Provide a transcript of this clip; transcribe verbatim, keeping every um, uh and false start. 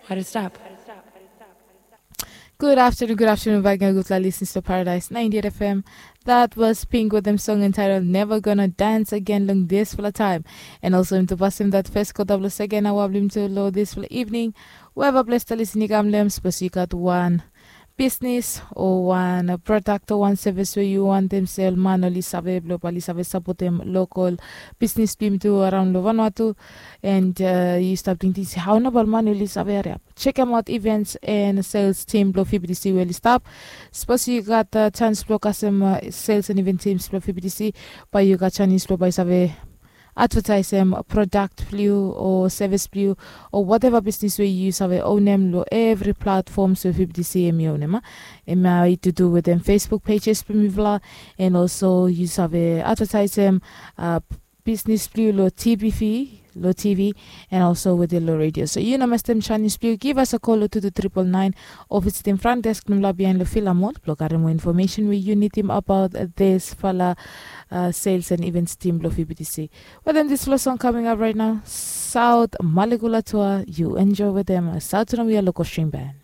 What is up? Good afternoon, good afternoon back again, good listeners to Paradise ninety-eight F M. That was Pink with them song entitled Never Gonna Dance Again long this for the time. And also him to pass him that first quarter plus second hour blim to low this for the evening. Whoever bless the listening kam lem, suppose you got one business o wan product o wan service we yu wantem sel, man oli save blong bae oli save sapotem lokal bisnis blong yumi tu araon long Vanuatu. And yu stap tingting se hao nao bae ol man oli save hariap? Chekem aot events and sales team blong V B T C we oli stap. Sapos yu gat chans blong kasem sales and event teams blong V B T C, bae yu gat chance blong bae yu save advertisem product blong yu o service blong yu o whatever bisnis we yu save ownem long evri platforms we V B T C hemi ownem. Hemia i to do wetem Facebook pages blong mifala, and also yu save advertisem bisnis blong yu long T V, long T V, and also wetem long radio. So yu no mestem chance blong yu, give us a call long two two triple nine o visitim front desk blong mifala bihain long Villa Mall blong karem moa information we yu nidim about this fala sales and events team blong V B T C. Wetem this fala song coming up right now, South Malekula Tour, yu enjoy wetem South Romeo Lokoshin Band.